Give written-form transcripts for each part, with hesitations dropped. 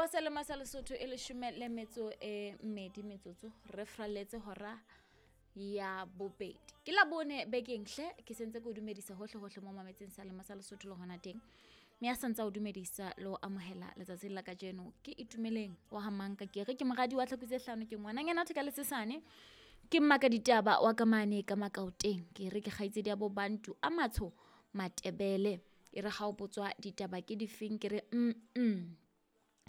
Wa selemo sa Lesotho e leshome le metso e mmedi metsotso re fralletse hora ya bobedi. Ke la bone bekeng hle ke sentse ke o dumedisa hohle hohle mo mametseng selemo sa Lesotho le hona teng. Mme a santse o dumedisa le ho amohela letsatsing la kajeno ke Itumeleng wa ha Manka ke re ke moradi wa tlhaku tse hlano ke ngwananyana theka le sesane ke mmaka ditaba wa ka mane ka Makaoteng ke re ke kgaitsedi ya bo Bantu a matsho Matebele e re ha o botswa ditaba ke difeng ke re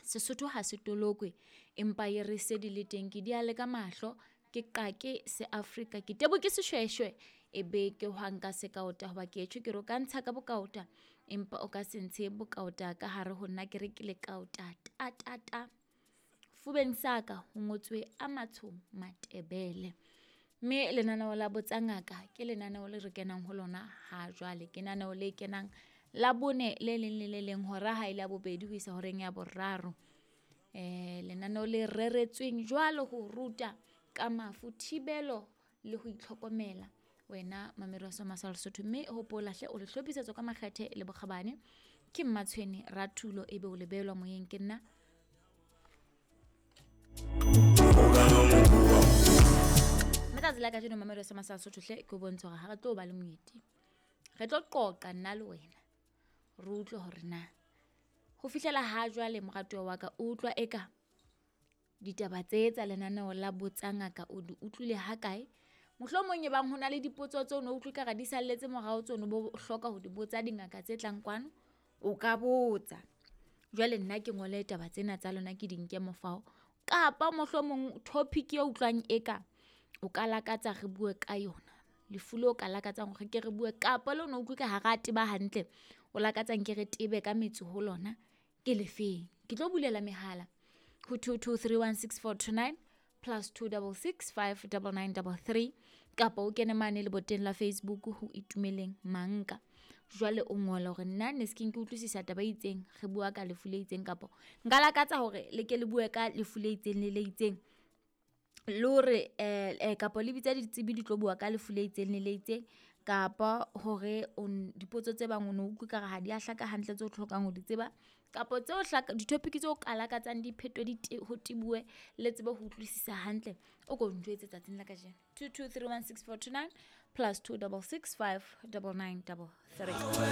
Sesotho ha se tolokwe empa e re se di le teng ke di ale ka mahlo ke qake se Afrika ke tebo ke seshweshwe e be ke hwang ka sekaota hoba ke etjho ke re o ka ntsha ka bokaota empa o ka se ntshe bokaota ka hare ho nna ke re ke lekaota ta ta ta. Fubeng sa ka ho ngotswe a matsho Matebele. Mme lenaneo la Botsa Ngaka ke lenaneo le re kenang ho lona ha jwale. Ke lenaneo le kenang la bone le leng le le leng hora ha ile ya bobedi ho isa horeng ya boraro. Lenaneo le reretsweng jwalo ho ruta ka mafu, thibelo le ho itlhokomela wena mamedi wa Soma sa Lesotho. Mme hopola hle o le hlophisetswa ka makgethe le bokgabane ke Mmatshwene Rathulo ebe o le behelwa moyeng ke nna. Mme tsatsi la kajeno mamedi wa Soma sa Lesotho hle ke o bontshe hore ha re tlo ba le moeti. Re tlo qoqa nna le wena re utlwe hore na ho fihlela ha jwale moratuwa wa ka o utlwa eka ditaba tse tsa lenaneo la Botsa Ngaka o di utlwile ha kae. Mohlomong e bang ho na le dipotso tseo no utlwe kare di salletse morao tseo no bo hloka ho di botsa dingaka tse tlang kwano, o ka botsa. Jwale nna ke ngole taba tsena tsa lona ke di nke mofao kapa mohlomong topic e utlwang eka o ka lakatsa re bue ka yona. Lefu leo ka lakatsang hore ke re bue kapa le ono utlwe ka ha ra teba hantle o lakatsang ke re tebe ka metso ho lona ke lefeng. Ke tlo bulela mehala ho 22316429 plus 26659933 kapa o kene mane leboteng la Facebook ho Itumeleng Manka. Jwale o ngola hore nna ne se ke utlwisisa taba e itseng re bua ka lefu le itseng kapa nka lakatsa hore le ke le bue ka lefu le itseng le le itseng. Le hore kapa le bitsa ditsebi di tlo bua ka lefu le itseng le le itseng kapa hore dipotso tse bang o no utlwe ekare ha di a hlaka hantle tseo hlokang ho di tseba kapa tseo hlaka di-topic tseo ka lakatsang di phetwe di ho tebuwe le tsebe ho utlwisisa hantle. O ko njwetse tsatsing la kajeno 22316429 plus 26659933.